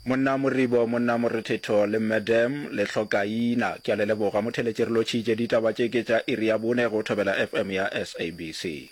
Monna Moribo, Monna Morethetho le Madam Lehlokaina. Ke a le leboga. Motheletši re lotšhitše. Ditaba tše ke tša iri ya bone go Thobela FM ya SABC.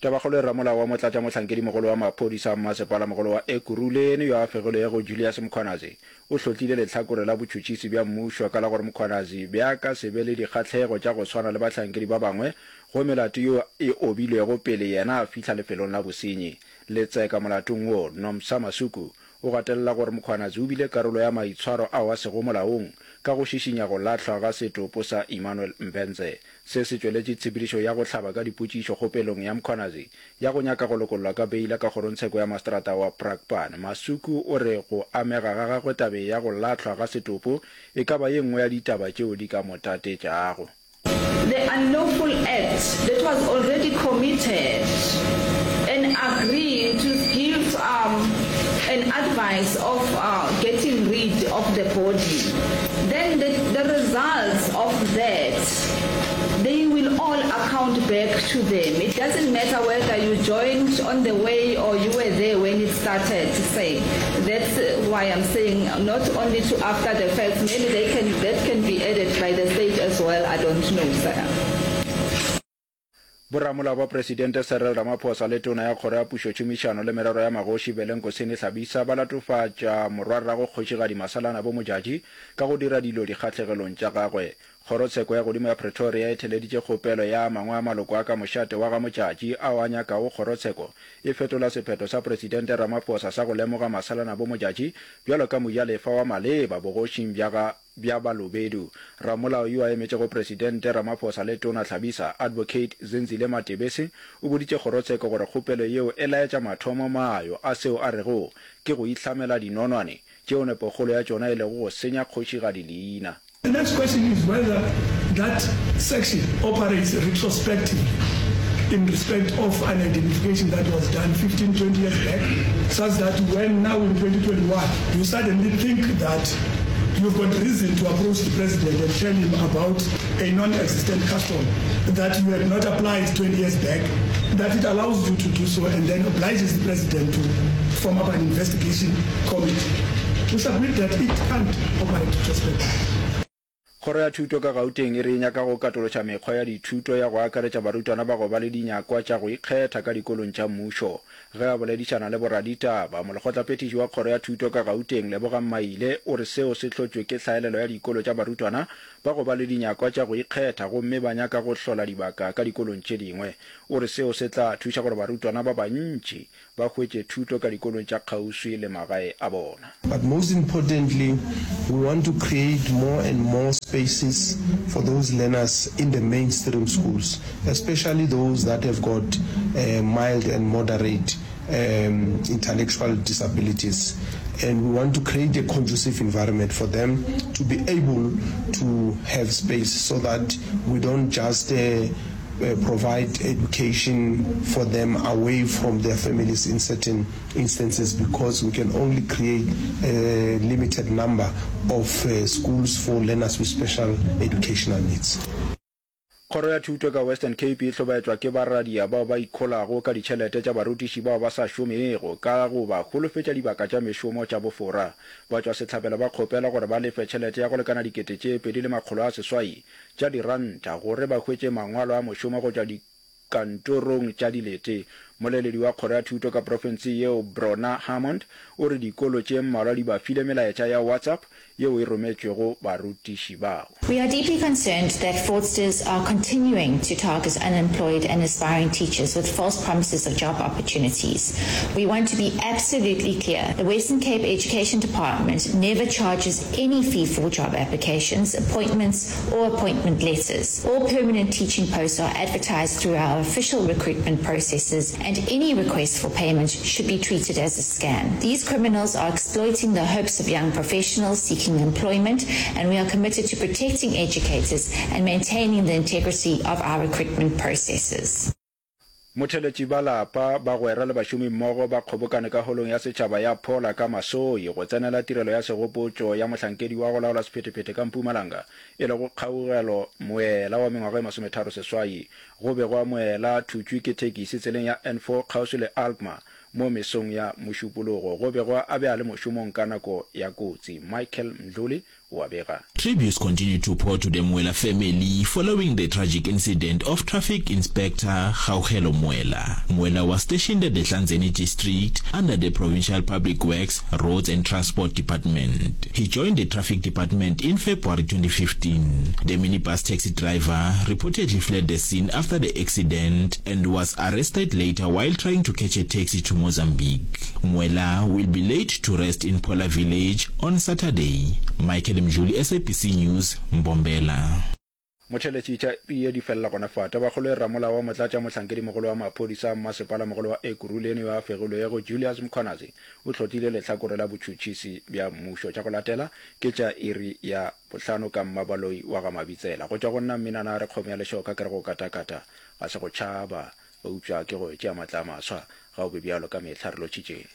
Tabakgolo e Ramolao wa Motlatšamohlankedimogolo wa Maphodisa a Mmasepalamogolo wa Ekurhuleni yo a fegilwego Julius Mkhwanazi o hlotlile lehlakore la botšhotšhisi bja mmušo ka la gore Mkhwanazi bja ka se be le dikgahlego tša go swana le bahlankedi ba bangwe go melato yeo e obilwego pele yena a fihla lefelong la bosenyi. Letseka molatong wo, Nomsa Masuku, O gatelela gore Mkhwanazi o bile karolo ya maitshwaro ao a sego molaong ka go šišinya go lahlwa ga setopo sa Emmanuel Mbense. Se se tšweletše tshepedišo ya go hlaba ka dipotšišo kgopelong ya Mkhwanazi ya go nyaka go lokollwa ka beila ka kgorongtsheko ya maseterata wa Brakpan. Masuku o re go amega ga gagwe tabeng ya go lahlwa ga setopo e ka ba ye nngwe ya ditaba tšeo di ka mo tatetšago. The unlawful act that was already committed and agree to give um an advice of uh getting rid of the body then the the results of that they will all account back to them it doesn't matter whether you joined on the way or you were there when it started say that's why I'm saying not only to after the facts maybe they can that can be added by the state as well I don't know sir. Boramolao ba Presidente Cyril Ramaphosa le Tona ya Kgoro ya Pušotšhomišano le Merero ya Magoši Velenkosini Hlabisa ba latofatša morwarrago Kgošigadi Masalanabo Modjadji ka go dira dilo dikgahlegelong tša gagwe. Kgorotsheko ya Godimo ya Pretoria e theleditše kgopelo ya a mangwe a maloko a ka mošate wa ga Modjadji ao a nyakago kgorotsheko e fetola sephetho sa Presidente Ramaphosa sa go lemoga Masalanabo Modjadji bjalo ka mojalefa wa maleba bogošing bja ga bja Balobedu. Ramolao yo a emetšego Presidente Ramaphosa le Tona Hlabisa, Advocate Zenzile Matebese, o boditše kgorotsheko gore kgopelo yeo e laetša mathomo mayo a seo a rego ke go ihlamela dinonwane tšeo nepokgolo ya tšona e lego go senya kgošigadi leina. The next question is whether that section operates retrospectively in respect of an identification that was done 15, 20 years back, such that when now in 2021 you suddenly think that you've got reason to approach the president and tell him about a non-existent custom that you had not applied 20 years back, that it allows you to do so and then obliges the president to form up an investigation committee. We submit that it can't operate retrospectively. Kgoro ya Thuto ka Gauteng e re e nyaka go katološa mekgwa ya dithuto ya go akaretša barutwana ba go ba le dinyakwa tša go ikgetha ka dikolong tša mmušo. Ge a boledišana le boraditaba, molekgotlaphethiši wa Kgoro ya Thuto ka Gauteng, Lebogang Maile, o re seo se hlotšwe ke hlaelelo ya dikolo tša barutwana ba go ba le dinyakwa tša go ikgetha gomme ba nyaka go hlola dibaka ka dikolong tše dingwe. O re seo se tla thuša gore barutwana ba bantši ba hwetše thuto ka dikolong tša kgauswi le magae a bona. But most importantly, we want to create more and more spaces for those learners in the mainstream schools, especially those that have got mild and moderate intellectual disabilities. And we want to create a conducive environment for them to be able to have space so that we don't just provide education for them away from their families in certain instances because we can only create a limited number of schools for learners with special educational needs. Kgoro ya Thuto ka Western Cape e hlobaetšwa ke baradia bao ba ikholago ka ditšhelete tša barutiši bao ba sa šomego ka go ba holofetša dibaka tša mešomo tša bofora. Batšwasehlabelo ba kgopelwa gore ba lefe tšhelete ya go lekana 2800 tša diranta gore ba hwetše mangwalo a mošomo go tšwa dikantorong tša dilete. Moleledi wa kgoro ya thuto ka profenseng yeo Brona Hammond o re dikolo tše mmalwa di ba file melaetša ya WhatsApp yeo e rometšwego barutiši bao. We are deeply concerned that fraudsters are continuing to target unemployed and aspiring teachers with false promises of job opportunities. We want to be absolutely clear, the Western Cape Education Department never charges any fee for job applications, appointments or appointment letters. All permanent teaching posts are advertised through our official recruitment processes and any request for payment should be treated as a scam. These criminals are exploiting the hopes of young professionals seeking employment and we are committed to protecting educators and maintaining the integrity of our recruitment processes. Motheletši ba lapa, bagwera le bašomimmogo ba kgobokane ka Holong ya Setšhaba ya Phola ka Masoi go tsenela tirelo ya segopotšo ya mohlankedi wa go laola sephethephethe ka Mpumalanga e lego Kgaugelo Moela wa mengwaga e masometharoseswai. Go be gwa Moela thutšwe ke thekisi tseleng ya N4 kgauswi le Alkmaar. Mo mesong ya Mošupologo, go begwa a be a le mošomong ka nako ya kotsi. Michael Mdluli o a bega. Tributes continue to pour to the Mwela family following the tragic incident of traffic inspector Kgaugelo Mwela. Mwela was stationed at the Hlanzeni district under the provincial Public Works, Roads and Transport Department. He joined the traffic department in February 2015. The minibus taxi driver reportedly fled the scene after the accident and was arrested later while trying to catch a taxi to Mozambique. Mwela will be laid to rest in Phola village on Saturday. Michael Mdluli, SABC News, Mbombela. Motheletši tša pie di felela gona fa. Tabakgolo e Ramolao wa Motlatša Mohlankedimogolo wa Maphodisa a Mmasepalamogolo wa Ekurhuleni yo a fegilwego, Julius Mkhwanazi, o hlotlile lehlakore la botšhotšhisi bja mmušo. Tša go latela ke tša iri ya bohlano ka Mmabaloi wa ga Mabitsela. Go tšwa go nna Mminana a re kgomo ya lešoka ke re go katakata ga se go tšhaba, eupša ke go tšea matla a maswa. Ga o be bjalo ka mehla re lotšhitše.